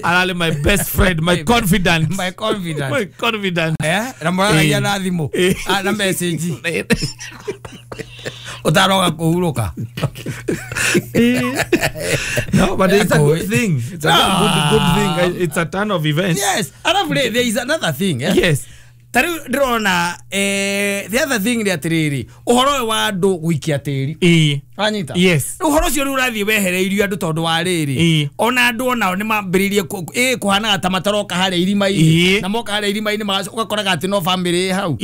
Ararĩ my best friend, my confidant. My confidant. My confidant. Na mũraragia na thimũ. Ah, na message ũtaroga kũhurũka. No, but it's a good thing. It's a good thing. It's a turn of events. Yes, arabu rĩ, there is another thing, eh? Yes. Ta rĩu ndĩrona, the other thing nĩ atĩrĩrĩ, ũhoro ũyũ wa andũ gũikia tĩri. Wanyita? Yes. Rĩu ũhoro ũcio rĩu ũrathiĩ wehereirio andũ tondũ wa rĩrĩ, ona andũ onao nĩ mambĩrĩirie kũhanaga ta mataroka harĩa irima-inĩ. Na moka harĩa irima-inĩ ũgakoraga atĩ no family ĩ hau.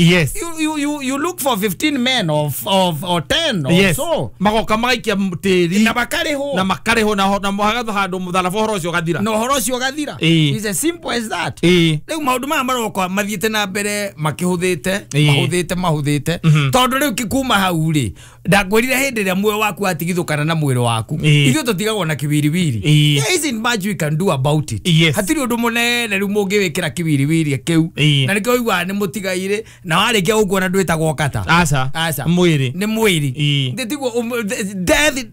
You look for 15 men of or 10 or so. Magoka magaikia tĩri. Na makarĩhwo. Na makarĩhwo na magatha handũ mũtharaba, ũhoro ũcio ũgathira. Na ũhoro ũcio ũgathira. It's as simple as that. Rĩu maũndũ maya maroka mathiĩte na mbere makĩhũthĩte, mahũthĩte mahũthĩte, tondũ rĩu kuma hau rĩ, ndakwĩrire hĩndĩ ĩrĩa muoyo waku watigithũkana na mwĩrĩ waku, ithuĩ tũtigagwo na kĩwiriwiri. There isn't much we can do about it. Hatirĩ ũndũ mũnene rĩu mũngĩwĩkĩra kĩwiriwiri kĩu. Na nĩkĩo ũiguaga nĩ mũtigairĩ, na warĩkia gũkuona ndwĩtagwo kata. Aca. Aca. Mwĩrĩ. Nĩ mwĩrĩ. Tiguo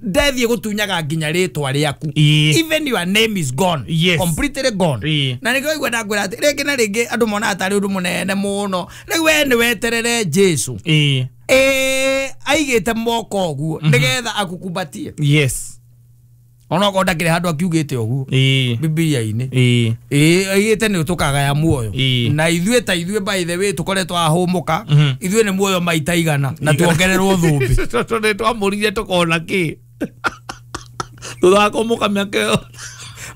death ĩgũtunyaga nginya rĩtwa rĩaku. Even your name is gone. Completely gone. Na nĩkĩo igua ndakwĩra atĩ rĩngĩ na rĩngĩ andũ monaga tarĩ ũndũ mũnene mũno. Rĩu we nĩ weterere Jesu. Aigĩte moko ũguo nĩgetha akukumbatie. Onokorwo ndakĩrĩ handũ akiugĩte ũguo Bibilia-inĩ. Aigĩte nĩ tũkagaya muoyo. Na ithuĩ ta ithuĩ, by the way, tũkoretwo ahũmũka, ithuĩ nĩ muoyo maita 100 na tuongererwo thũmbĩ. Tondũ nĩ twamũrire tũkona kĩ thutha wa kũmũka mĩaka ĩyo.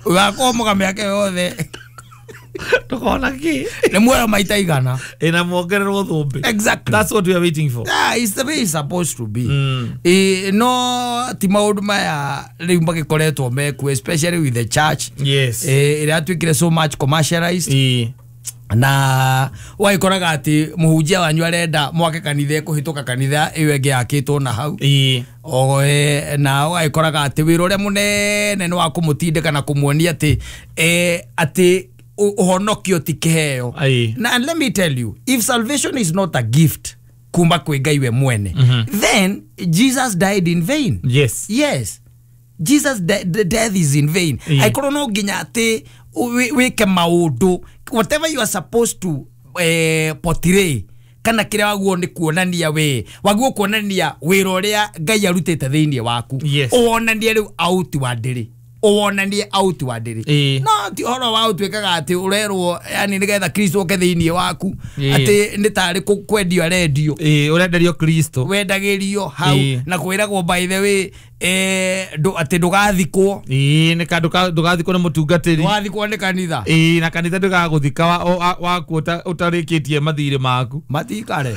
Wakũhũmũka mĩaka ĩyo yothe. Tũkona kĩ? Nĩ muoyo maita 100. Ĩ, na muongererwo thũmbĩ. Exactly. That's what we are waiting for. Yeah, it's the way it's supposed to be. No ti maũndũ maya rĩu magĩkoretwo mekuo, especially with the church, ĩrĩa yatuĩkire so much commercialized, na wagĩkoraga atĩ mũhunjia wanyu arenda mwake kanitha ĩkũhĩtũka kanitha ĩyo ĩngĩ yakĩtwo na hau. O, na ũgagĩkoraga atĩ wĩra ũrĩa mũnene nĩ wa kũmũtindĩka na kũmuonia atĩ, atĩ ũhonokio ti kĩheo. Na and let me tell you, if salvation is not a gift kuma kwĩ Ngai we mwene, then Jesus died in vain. Yes, Jesus the death is in vain. Aikorwo no nginya atĩ wĩke maũndũ, whatever you are supposed to, portray kana kĩrĩa waguo nĩ kuonania, we waguo kuonania wĩra ũrĩa Ngai arutĩte thĩinĩ waku, ũwonanie rĩu outwardly, ũwonanie outwardly. No ti ũhoro wa ũtuĩkaga atĩ ũrerwo yani nĩgetha Kristo oke thĩinĩ waku, atĩ nĩ tarĩ kwendio arendio. Ĩ, ũrenderio Kristo. Wendagĩrio hau. Na kwĩragwo, by the way, atĩ ndũgathikwo. Ĩ, nĩ ka ndũgathikwo nĩ mũtungatĩri. Ndũgathikwo nĩ kanitha. Ĩ, na kanitha ndũgagũthika waku ũtarĩkĩtie mathirĩ maku. Matikare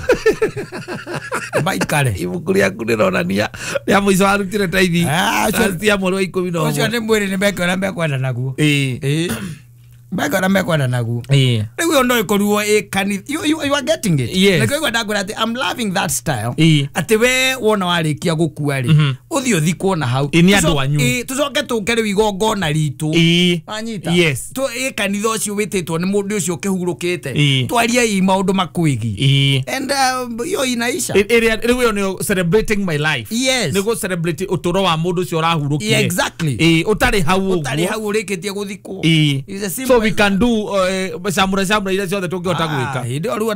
maikare. Ibuku rĩaku rĩronania rĩa mũico warutire taithi Ah, last year mweri wa 11. Ũcio nĩ mwĩrĩ, nĩ meke ũrĩa mekwenda naguo. Ĩ, meke ũrĩa mekwenda naguo. Rĩu ĩyo no ĩkorirwo ĩ kanitha. You are getting it? Yes. Nĩkĩo igua ndakwĩra atĩ I'm loving that style, atĩ we wona warĩkia gũkua rĩ, ũthiĩ ũthikwo na hau. Ĩ, nĩ andũ anyu. Ĩ, tũcoke tũke rĩu igongona ritũ. Wanyita? Yes. Ĩ, kanitha ũcio wĩtĩtwo nĩ mũndũ ũcio ũkĩhurũkĩte, twarie i maũndũ makwĩgiĩ, and hiyo inaisha. Ĩrĩa rĩu ĩyo nĩyo celebrating my life. Nĩguo celebrate ũtũro wa mũndũ ũcio ũrahurũkire. Yeah, exactly. Ĩ, ũtarĩ hau ũguo. Ũtarĩ hau ũrĩkĩtie gũthikwo. Ĩ. It's as simple So we as can do shamra shamra iria ciothe tũngĩhota Ah, gwĩka. hĩndĩ ĩyo rĩu.